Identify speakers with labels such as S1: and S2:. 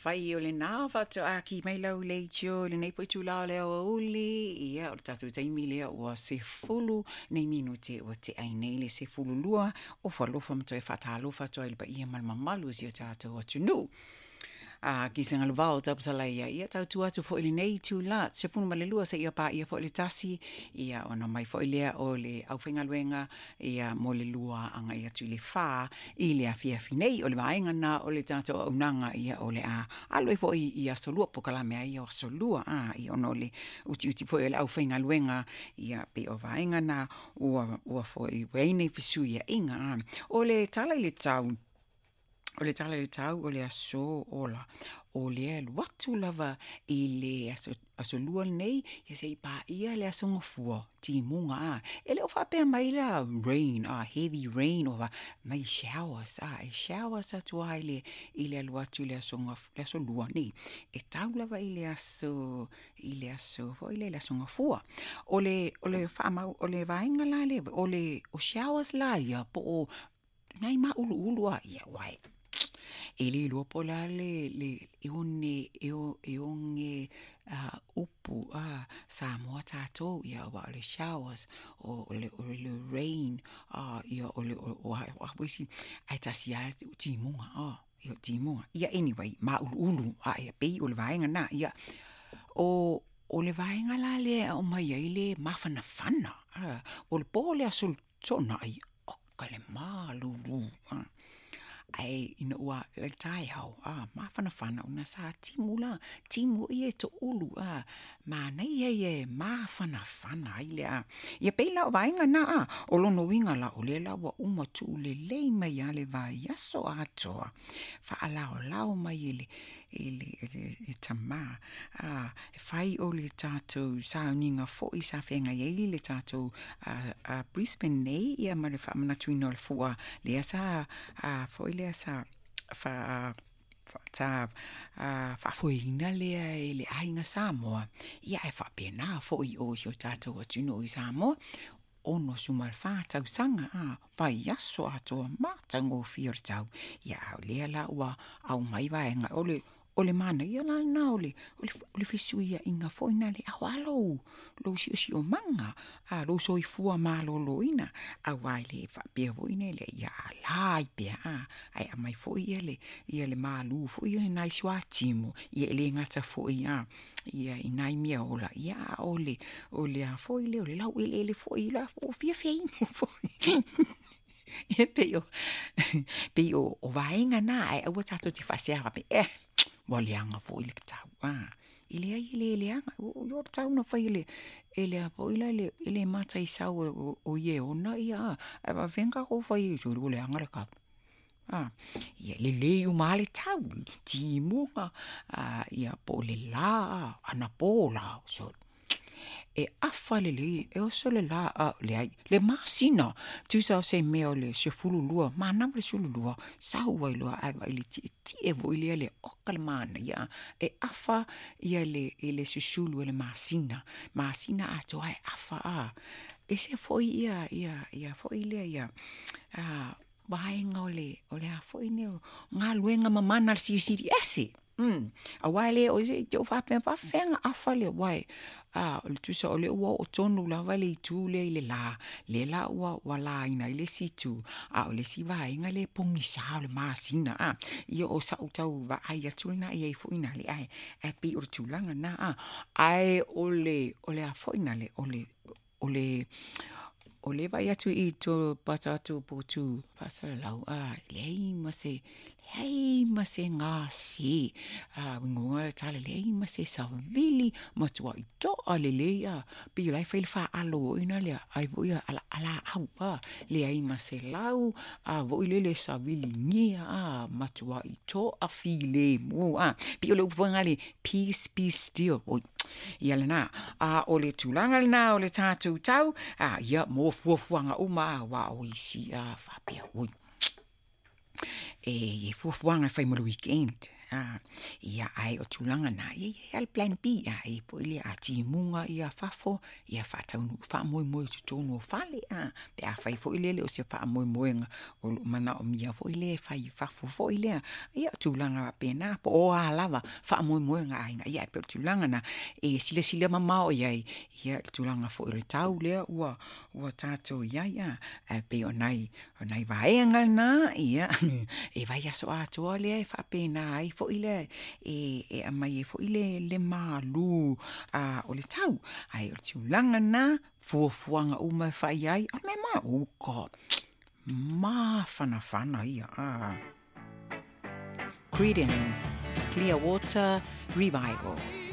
S1: Afai o lena faatoa ki mai lau leitio i lenei foi itula o le aoauli, ia, o le tatou taimi lea ua 10 nei minute ua tea ai nei le 12 ofa alofa ma toe faatalofa atu ai i le paia ma le mamalu o si o tatou atunuu. A ki se galuvao taupasala ia, ia tautua atu foi i lenei itula, 12 seia paia foi le 1, ia ona mai foi lea o le aufaigaluega, ia mo le 2 agai atu i le 4 i le afiafi nei. O le vaega lena o le tatou auaunaga, ia o le a alu ai foi i aso lua, polokalame ai o aso lua, a, ia ona o le utiuti foi o le aufaigaluega, ia pei o vaega na ua foi ua i ai nei fesuiaiga. A. O le tala i le tau, o le tala i le tau o le aso ola, o lea e alu atu lava i le aso, aso lua lenei, ia se i paia le aso Gafua, timuga a. E le o faapea mai la rain, a, heavy rain, o mai showers, a, e showers atu lava i le, i le alu atu i le aso Gaf, le aso lua nei. E tau lava i le aso, i le aso foi lea, le aso Gafua. O le, o le faamau, o le vaega la lea, o le, o showers la ia, po o nai māʻuluʻulu a, ia aua e, e le iloa po o le a le, le e one, e o, e oge upu a Samoa tatou, ia aua o le showers, o le, o le rain, a, ia o le, o a, o a foi isi, ae tasi lava le timuga, a, ia o timuga. Ia anyway, māʻuluʻulu, a e pei o le vaega lena, ia. O, o le vaega la lea e aumai ai le mafanafana, a, o le po o le aso Toonai, oka le malulu, a. Ae ina ua le taeao, a, mafanafana ona sa timu la, timu ia e toʻulu, a, manaia ia e mafanafana ai le a. Ia pei la o vaega na, a, o lona uiga la, o lea la ua uma tuulelei mai lava le vaiaso atoa, faalaolao mai e le, e le, e le, e tama, a, e fai o le tatou sauniga foi sa feagai ai le tatou a, a Brisbane nei, ia ma le faamanatuina o le fua lea sa, a, foi lea sa fa, sa faafoeina lea e le aiga Samoa, ia ae faapena foi o si o tatou atunuu i Samoa, 64 tausaga, a, vaiaso atoa matagofie o le tau, ia a o lea la ua aumai vaega, o le, o le manaia la lena o le, o le, o le fesuiaiga foi na le aoa lou, lou siosiomaga, a, lou soifua maloloina, aua e le faapea foi nei le ia ala ai pea, a, ae aumai foi ia le, ia le malu foi ia nai suatimu, ia e le gata foi, a, ia i nai mea ola, ia a o le, o le a foi lea, o le laueleele foi, la ua fiafia inu foi. Ia pei o, pei o, o vaega na, ae aua tatou te faasea faapea, eh, ua leaga foi le tau, a. E leai e le leaga, o le tau na fai e le, e le a foi la le, e le mataisau e o ia e ona ia, a. Ae faapefea ona tatou fai ai, sole ua leaga le tau. A, ia lelei uma lava le tau, timuga, a, ia po o le lā, anapo lā, sole. E afa lelei, e oso le lā, a, leai, le masina, tusa o se mea o le 12, manava le 12, sau ai loa ae vaai i le tietie foi lea le oka le manaia, e afa ia le, i le susulu o le masina, masina atoa e afa, a. Ese foi ia, ia, ia foi lea, ia, a, vaega o le, o le a foi nei, o galuega mamana a le Silisili Ese. Mm. Aua e le o se i te o faapea faafefea ona afa le aua e, a, o le tusa o lea ua oo tonu lava le itu lea i le lā, lea la ua, ua lāina ai le isi itu, a o le isi vaega lea e pogisa o le masina, a. Ia o sa'u tau vaai atu lena i ai foi nā le, ae, ae pei o le tulaga lena, a. Ae o le, o le a foi nā le, o le, o le, o le vaai atu i to pata atu o Potu faasalalau, a, leai ma se, leai ma se gase, a, uiga o le tala, leai ma se savili, matuai toa lelei, a, pei o la e fai le faalo foi na lea, ai foi a laau, a, leai ma se lau, a foi lele saviligia, a, matuai toa filemu, a, pei o le upu foi lena le peace be still, oi, Ia lena, a o le tulaga lena o le tatou tau, a, ia, mo fuafuaga uma a, aua o isi a faapea, oi, e i ai fuafuaga e fai mo le weekend. A, ia, ae o tulaga na, ia, ia, ia le plan B, a, e foi lea, a timuga ia fafo, ia faataunuu faamoemoe i totonu o fale, a, pe afai foi lea e le o se faamoemoega o lo o manaomia foi lea e fai i fafo foi lea. Ia, o tulaga faapena, po o a lava faamoemoega a aiga, ia ae pei o le tulaga na e silasila mamao i ai, ia, i le tulaga foi o le tau lea ua, ua tatou i ai, a, ae pei o nai, o nai vaega na, ia, e vaiaso atoa lea e faapena ai foi lea, e, e aumai ai foi le, le malū a, o le tau. Ae o le tulaga na, fuafuaga uma e fai ai, o le mea ma, oh God, mafanafana ia, a. Creedence Clearwater Revival.